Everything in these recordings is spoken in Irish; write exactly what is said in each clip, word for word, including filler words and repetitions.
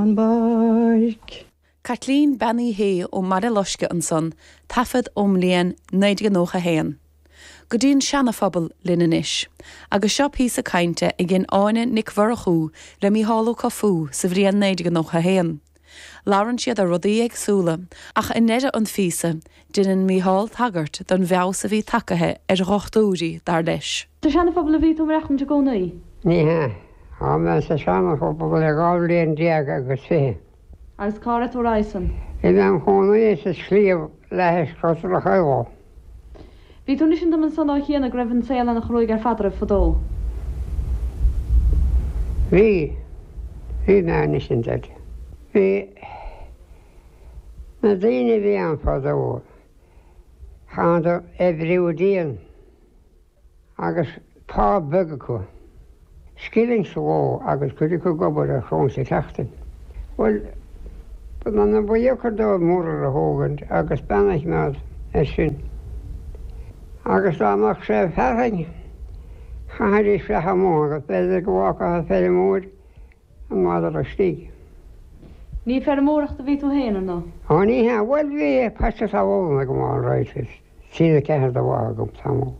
an bpáirc. Caitlín Bean Uí Shé ó mBaile Loiscthe ansan, taifead ón mbliain naoi déag nócha a haon. Go dtí an Seana-Phobal linn anois, agus seo píosa cainte a dhein Áine Nic Mhurchú le Mícheál Ó Cofú sa bhliain naoi déag nócha a haon. Labhrann siad ar rudaí éagsúla, ach i ndeireadh an phíosa, déanann Mícheál tagairt don bhfeabhas a bhí tagtha ar dhochtúirí, dar leis. Sa Seana-Phobal a bhí tú ag maireachtaint i gcónaí? Ní hea. Tá mé sa Seana-Phobal le dhá bhliain déag agus fiche. Agus cá raibh tú roimhe san? Bhí mé im chónaí sa sliabh leathais Crois Chaola. Bhí tú ag insint dom ansan ó chianaibh go raibh an saol ana chruaidh ar fad oraibh fadó. Bhí. Bhí mé ag insint duit. Bhí na daoine a bhí ann fadó, chaitheadar oibriú dian. Agus pá beag acu. Scilling sa ló agus cuid acu ag obair ar shrón sa tseachtain. Bhuel, ba ba dheacair dóibh muirear a thógaint agus bean a choimeád air sin. Agus dá mbeadh sé fearthainn, chaithfidís fleá amuigh agus b'fhéidir go bhfágfadh an feirmeoir an madra istigh. Ní feirmeoireacht a bhí tú féin, ar ndóigh? Ó ní hea. Bhuel, bhí paiste talún agam all right, trí nó ceathair de bha agam tamall.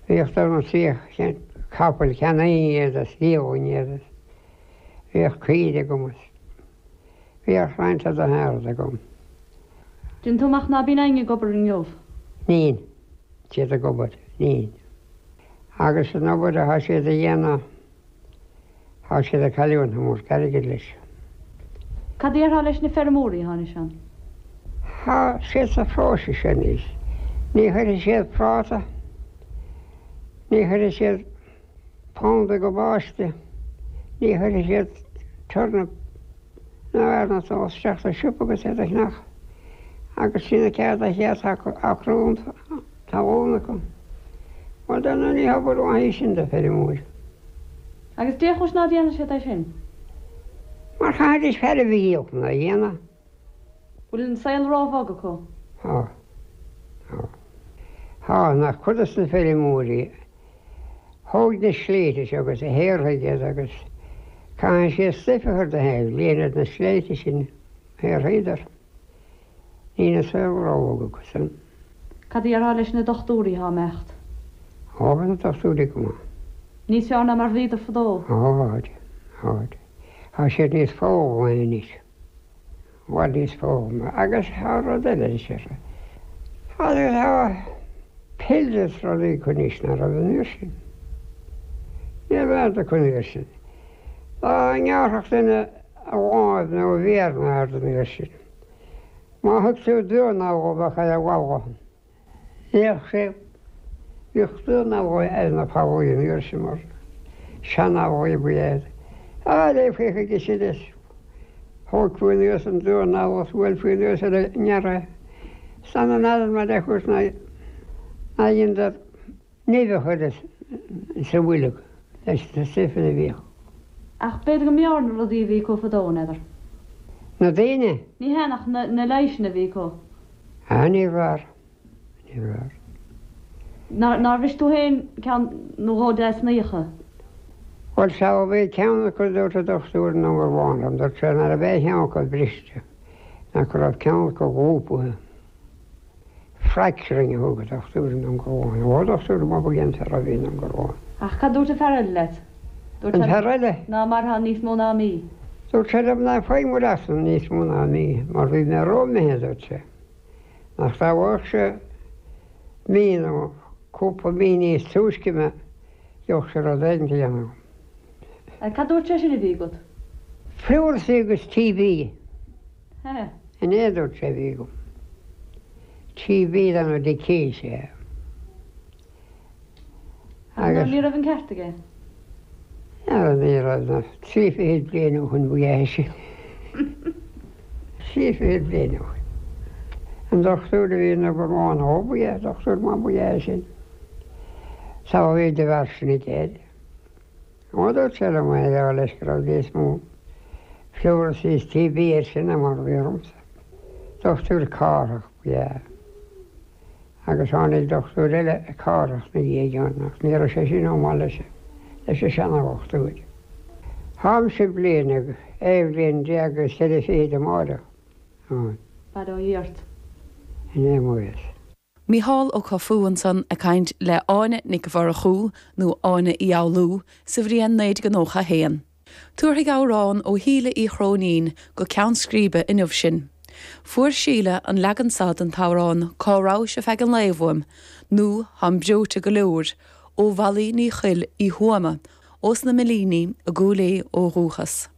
Bhíodh dul na trí capaill cheannaínn iad is dhíolainn iad is bhíodh caoire agam is bhíodh roinnt de shearad agam. Déanann tú amach ná bíonn éinne ag obair inniu? Níl siad ag obair, níl. Agus an obair atá siad a dhéanamh Tá siad ag cailliúint an iomarca airgid leis. Cad a déarfá leis na feirmeoirí atá anois ann? Tá siad sa phróiseas anois. Ní chuirfidh siad práta, ní chuirfidh siad pound i gcabáiste, ní chuirfidh siad turnap ná airneán isteach sa siopa agus iad a cheannach agus trí nó ceathair de chéad acra talún acu. Bhuel, dar ndóigh ní hobair mhaith í sin do feirmeoir. Agus dé chúis ná déanann siad é sin? Mar chaithfidís fear a dhíol chun é a dhéanamh. Bhfuil an saol róbhog acu? Tá. Tá. Tá, nach cuid de na feirmeoirí a thóg na sléibhte seo agus a shaothraigh iad agus caithfidh siad stuif a chur de thaobh líonadh na sléibhte sin a shaothraíodar. Níl an saol róbhog acu san. Cad a déarfá leis na dochtúirí atá ag imeacht? Ó, bhí na dochtúirí go maith. Níos fearr ná mar a bhíodar fadó? Ó, tháid, tháid. Tá siad níos foghlamaí anois. I bhfad níos foghlamaí. Agus tá rud eile anois orthu. Tá, tá pills is rudaí acu anois ná raibh an uair sin. Ní raibh aon acu an uair sin. Dá ngearrfadh duine a láimh nó a mhéar nó aird an uair sin. Má thug tú dornálaí bheadh ar an bhalla. Bhíodh sé, bhíodh dornálaí ar na fallaí an uair sin mar seanfhallaí ba ea iad. Á, léifí chuige sin is thógfaí anuas an dornálaí is bhuailfí anuas ar an ngearradh é. San an fhearann mar a chúirt ná dheineadar nimh a chur sa bhoilg leis na stuifeanna a bhíodh. Ach b'fhéidir go mb'fhearr na rudaí a bhí acu fadó, n'fheadar. Na daoine? Ní hea, ach na leighiseanna a bhí acu. Ah, níorbh fhearr. Níorbh fhearr. Nár, nár bhris tú féin ceann nó dhó des na fhiacha? Bhuel, sea, bhí ceann acu, dúirt an dochtúir in Indreabhán liom, dúirt sé ná raibh aon cheann acu briste, ach go raibh ceann acu lúbtha. Fracturing a thug an dochtúir in Indreabhán. Ó, dochtúir maith ba ea an fear a bhí in Indreabhán. Ach cad dúirt an fear eile leat? Dúirt An fear eile? Ná mairfeá níos mó ná mí. Dúirt sé liom ná faigh maireachtaint níos mó ná mí, mar bhí mé ró-imithe, dúirt sé. Nach dá bhfaigheadh sé mí nó cúpla mí níos túisce mé, gheobhadh sé rud éigin a dhéanamh. Cad dúirt sé sin a bhí agat? Pleurisy agus TB. He. Sin é a dúirt sé a bhí agam. TB dá nó dicíos é. Agus. Ní raibh an ceart aige. Ní ní raibh ná trí fichid bliain ó shin ba ea é sin. Trí fichid bliain ó shin. An dochtúir a bhí in Indreabhán ó ba ea, dochtúir maith ba ea é sin. Sea bhí de bharr sin aige air. Ó dúirt sé liom é a rá leis go raibh níos mó pleurisy is TB air sin ná mar a bhí ormsa. Dochtúir Cárthach ba ea. Agus tháinig dochtúir eile Cárthach 'na dhiaidh ann, ach ní raibh sé sin chomh maith leis, leis an seanadhochtúir. Táimse bliain agus aon bhliain déag agus ceithre fichid amárach. Bail ó Dhia ort. In aon mhaith. Mícheál Ó Confú ansan ag caint le Áine Nic Mhurchú nó Áine Uí Fhoghlú sa bhliain naoi déag nócha a haon. Tabharfaidh amhrán ó Shíle Uí Chróinín go ceann scríbe inniu sinn. Fuair Síle an leagan seo den t-amhrán Cá rabhais ar feadh an lae uaim, nó Táim breoite go leor, ó Mholly Ní Choill Uí Thuama, ós na Millíní i gCúil Aodha ó dhúchas.